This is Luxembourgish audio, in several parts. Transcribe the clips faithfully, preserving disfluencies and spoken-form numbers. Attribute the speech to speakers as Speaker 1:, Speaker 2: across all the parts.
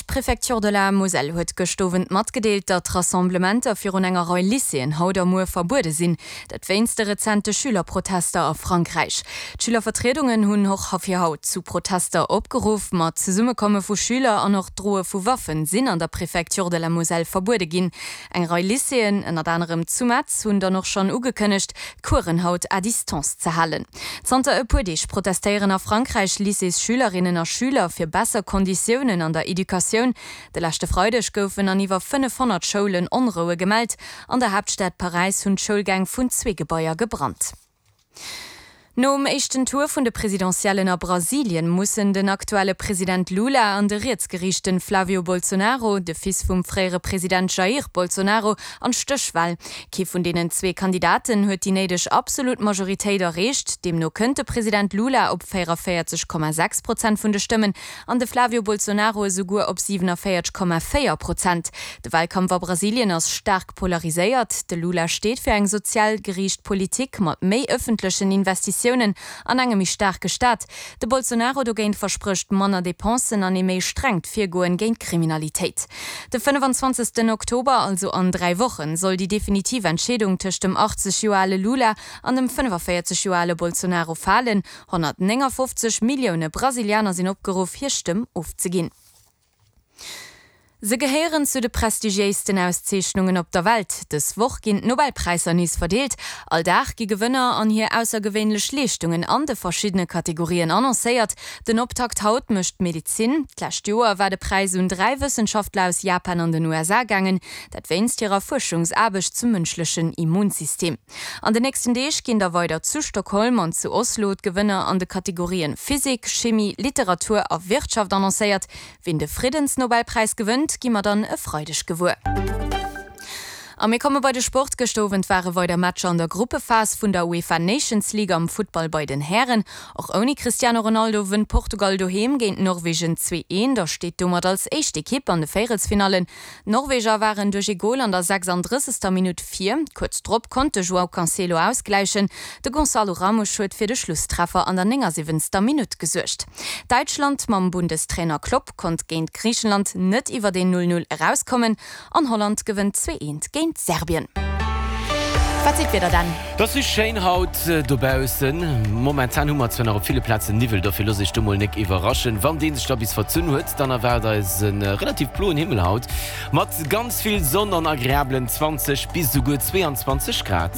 Speaker 1: franséisch Préfecture de la Moselle huet gëscht Owend matgedeelt, datt Rassemblementer virun enger Rei Lycéeën haut a muer verbuede sinn. Dat wéinst de rezente Schülerprotester a Frankräich. D'Schülervertriedungen hunn och fir haut zu Protester opgeruff. Ma d'Zesummekomme vu Schüler an och d'Droe vu Waffen sinn an der Préfecture de la Moselle verbuede ginn. Eng Rei Lycéeën, ënnert anerem zu Metz, hunn dann och schonn ugekënnegt, d'Coursen haut à distance ze halen. Zanter e puer Deeg protestéieren a Frankräich Lycéesschülerinnen a Schüler fir besser Konditiounen an der Educatioun. De leschte Freideg goufen an iwwer fënnefhonnert Schoulen Onroue gemellt. An der Haaptstad Paräis hunn d'Schoulgäng vun zwee Gebaier gebrannt. Nom éischten Tour vun de Presidentiellen a Brasilien mussen den aktuelle President Lula an de rietsgeriichte Flavio Bolsonaro, de Fils vum fréiere President Jair Bolsonaro, an d'Stéchwal. Kee vun deenen zwee Kandidaten huet déi néideg absolut Majoritéit erreecht. Deemno kënnt de President Lula op véierundavéierzeg Komma sechs Prozent vun de Stëmmen an de Flavio Bolsonaro esouguer op siwenavéierteg Komma véier Prozent. De Walkampf a Brasilien ass staark polariséiert. De Lula steet fir eng sozial geriicht Politik mat méi ëffentlechen Investitiounen an engem méi staarke Staat. De Bolsonaro dogéint versprécht manner Depensen an ee méi strengt Virgoen géint d'Kriminalitéit. De fënnefanzwanzegsten Oktober, also an dräi Wochen, soll déi definitiv Entscheedung tëscht dem achtzeg Joer ale Lula an dem fënnefavéierzeg Joer ale Bolsonaro falen. honnertnéngafofzeg Millioune Brasilianer sinn opgeruff, hir Stëmm ofzeginn. Se gehéieren zu de prestigiéisten Auszeechnungen op der Welt. Dës Woch ginn d'Nobelpräisser nees verdeelt. All Dag gi Gewënner an hir aussergewéinlech Leeschtungen an de verschiddene Kategorien annoncéiert. Den Optakt haut mécht d'Medezin. D'lescht Joer war de Präis un dräi Wëssenschaftler aus Japan an den U S A gaangen, dat wéinst hirer Fuerschungsaarbecht zum mënschlechen Immunsystem. An den nächsten Deeg ginn da weider zu Stockholm an zu Oslo d'Gewënner an de Kategorien Physik, Chimie, Literatur a Wirtschaft annoncéiert. Wien de Friddensnobelpräis gewënnt, gi mer dann e Freideg gewuer. A mir komme bei de Sport. Gëschter Owend ware weider Matcher an der Gruppephas vun der UEFA Nations League am Futtball bei den Hären. Och ouni Cristiano Ronaldo wënnt Portugal doheem géint Norwegen zwee eent a steet domat als éischt Ekipp an de Véierelsfinallen. D'Norweger waren duerch ee Gol an der sechsanddrëssegster Minutt vir. Kuerz drop konnt de João Cancelo ausgläichen. De Gonçalo Ramos huet fir de Schlusstreffer an der néngasiwwenzter Minutt gesuergt. Däitschland mam Bundestrainer Klopp konnt géint Griichenland net iwwer een null null erauskommen an Holland gewënnt zwee eent géint Serbien. Wat seet d'Wieder dann?
Speaker 2: Et ass schéin haut dobaussen. Momentan hu mer zwar nach op ville Plazen Niwwel, dofir looss iech do mol nek iwwerraschen. Wann dee sech da bis verzunn huet, dann erwaart eis e relativ bloen Himmel haut mat ganz vill Sonn an agreablen zwanzeg bis esouguer zweeanzwanzeg Grad.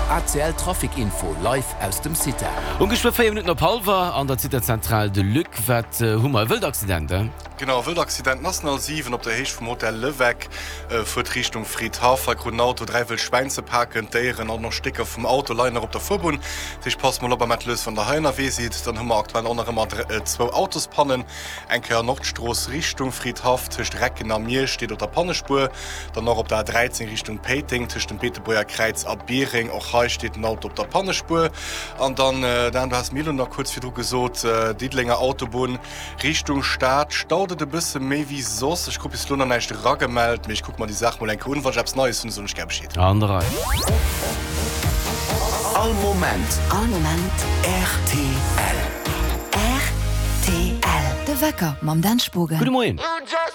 Speaker 3: A C L Trafic Info live aus dem Cita.
Speaker 2: Um geschwë véier Minutten op hallwer an der Cita-Zentral. De Luc, wat hu mer? E Wëldaccident, he?
Speaker 4: Genau, e Wëldaccident, National siwen op der Héicht vum Hotel Leweck, fuert Richtung Fridhaff. Hei krut en Auto dräi wëll Schwäin ze paken. D'Déieren an och Stécker vum Auto leien nach op der Fuerbunn. Dat heescht, passt mol op am Mettelös, wann der hei ënnerwee sidd. Dann hu mer aktuell och nach ëmmer zwou Autospannen. Eng Kéier Nordstrooss Richtung Fridhaff tëscht Recken a Miersch steet op der Pannespuer. Dann och op der A dräizéng Richtung Péiteng tëscht dem Beetebuerger Kräiz a Biereng. Och hei steet den Auto op der Pannespuer. An dann, Dan, du has mir elo nach kuerz virdru gesot, Diddelenger Autobunn Richtung Stad staut et e bësse méi wéi soss. Ech krut bis elo nach näischt eragemellt, mee ech kucke mer déi Saach mol eng Kéier un. Wann ech eppes Neies hunn, soen ech gär Bescheed.
Speaker 2: An der Rei.
Speaker 3: All Moment.
Speaker 5: All Moment.
Speaker 3: R T L.
Speaker 5: R T L. De Wecker mam Dan Spogen.
Speaker 2: Gudde Moien.